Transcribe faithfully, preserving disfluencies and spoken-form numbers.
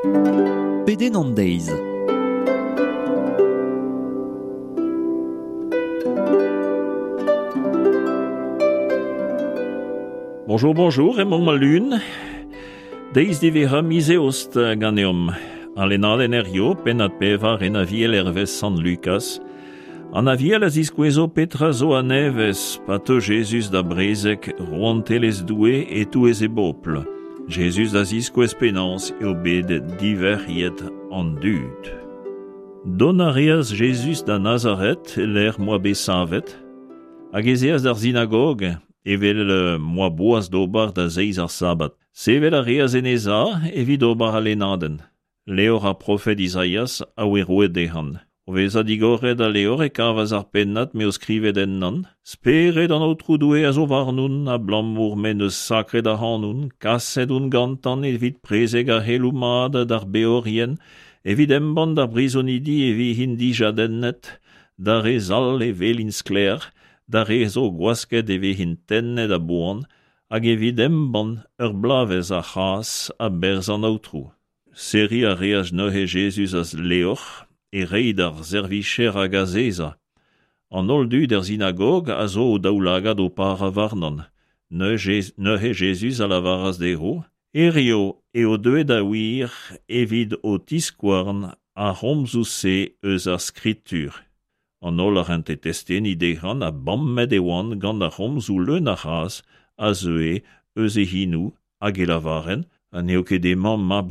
Pedenn an deiz. Bonjour, bonjour, emañ ma lun. Deiz diwezhañ miz eost ganeomp. An lennadenn hiziv, pennad pevar en aviel hervez Sant Lukaz. An aviel a ziskouezo petra zo a-nevez pa teu Jezuz da brezeg rouantelezh Doue e-touez e bobl. Jezuz a ziskouez penaos eo bet diverc'hiet an dud. Dont a reas Jezuz da Nazaret e-lec'h m'oa bet savet, hag ez eas d'ar sinagog evel m'oa boas d'ober da zeiz ar sabad. Sevel a reas en e za evit ober al lennadenn. Levr ar profed Izaias a oe roet dezhan. O vezañ digoret al levr e kavas ar pennad m'eo skrivet ennan. Spered an Aotrou Doue a zo warnon abalamour m'en deus sakret ac'hanon, kaset on gantan evit prezeg ar c'heloù mat d'ar beorien, evit embann d'ar brizonidi e vezint dijadennet, d'ar re zall e welint sklaer, d'ar re zo gwasket e vezint tennet a boan, hag evit embann ur bloavezh a c'hras a-berzh an Aotrou. Serriñ a reas neuze Jezuz al levr, e reiñ d'ar servijer hag azezañ. An holl dud er sinagog a zo o daoulagad o parañ warnon. Neuze, neuze Jezuz a lavaras dezho, Hiziv eo deuet da wir evit ho tiskouarn ar c'homzoù-se eus ar skritur. An holl a rente testeni dezhan ha bammet e oant gant ar c'homzoù leun a c'hras a zeue eus e c'henoù hag e lavarent ha n'eo ket hemañ mab